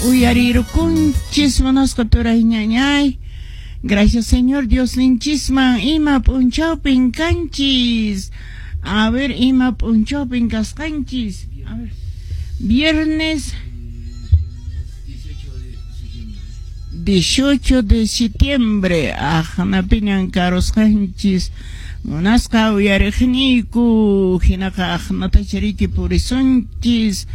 Uyarirukunchis munasqa turay ñañay. Gracias, Señor Dios ninchisman. Ima p'unchawpin kanchis? A ver, ima p'unchawpin kasqanchis? A ver. Viernes 18 de septiembre. Aqnapiñan karusqanchis. Munasqa uyariqniyku, hinaqa aqnatacha riki purisunchis.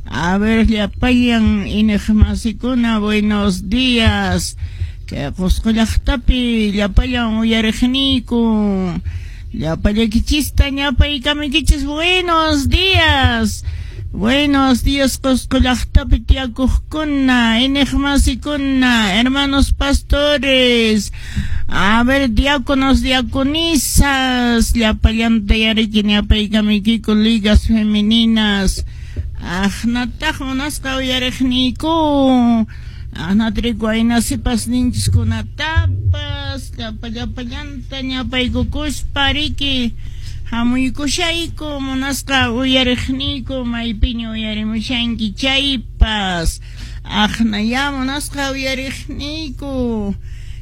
A ver, llapallan iñiqmasikuna, buenos días. Kay Qusqu llaqtapi llapallan uyariqniyku, llapallaykichista ñapaykamuykichis, buenos días. Buenos días, Qusqu llaqtapi tiyakuqkuna, iñiqmasikuna, hermanos pastores, a ver, diáconos, diaconisas, llapallanta yariki ñapaykamuykiku, ligas femeninas. Aqnataq munasqa uyariqniyku, aqnatriku ayna sipas ninchiskunatapas, llapa llapallanta ñapaykukuspa riki hamuykushayku. Munasqa uyariqniyku, maypiña uyarimushanki chaypas, aqnaya munasqa uyariqniyku,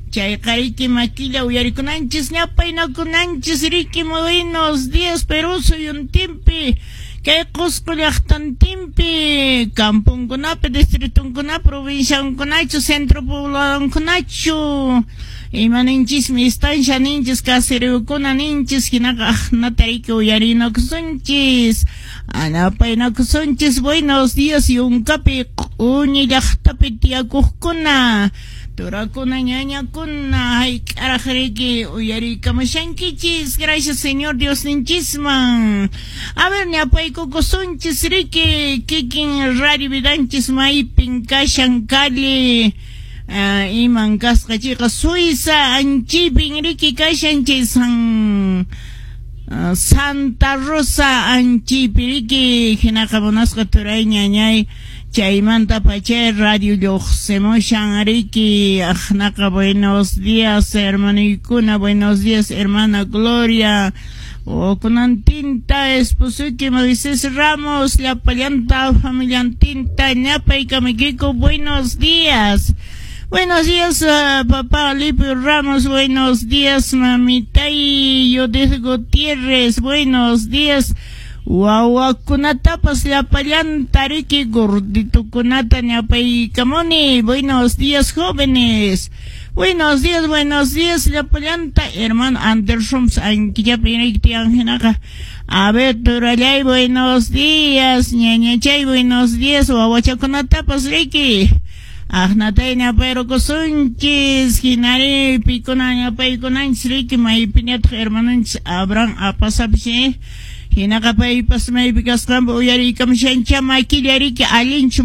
chayqa riki makilla uyarikunanchis, ñapaynakunanchis riki. Buenos días, Perú suyuntinpi, kay Qusqu llaqtantinpi, camponkunapi, distritunkunapi, provinciankunachu, centro pobladonkunachu, ima ninchismi, estancia ninchis, caseríokuna ninchis, hinaqa aqnata riki uyarinakusunchis, anapaynakusunchis. Buenos días, yunkapi, q'uñi llaqtapi tiyakuqkuna, turakuna, ñañakuna, hayk'araq riki uyariykamushankichis. Gracias, Señor Dios ninchisman. A ver, ñapaykukusunchis riki kikin Radio Vidanchis maypin kashan, calle iman kasqa chayqa, Suiza anchipin riki kashan, chay Santa Rosa anchipi riki. Hinaqa munasqa turay ñañay, chaymanta pachay radio lluqsimushan riki. Aqnaqa buenos días, hermanuykuna, buenos días, hermana Gloria, kunantinta, esposoyki Moisés Ramos, llapallanta familiantinta ñapaykamuykiku, buenos días. Buenos días, papá Alipio Ramos. Buenos días, mamitay Judith Gutiérrez. Buenos días. Wawakunatapas llapallanta riki gorditukunata ñapaykamuni. Buenos días, jóvenes. Buenos días, buenos días, llapallanta. Hermano Anderson, ankillapi riki tiyan hinaqa. A ver, turallay, buenos días. Ñañachay, buenos días. Wawachakunatapas riki. Aqnatay ñapayrukusunchis, hinari pikuna ñapaykunanchis riki, maypiñataq hermanonchis Abraham Apasapish, hinaqa paypas maypi kasqanpi uyariykamushancha makilla riki, allinchu.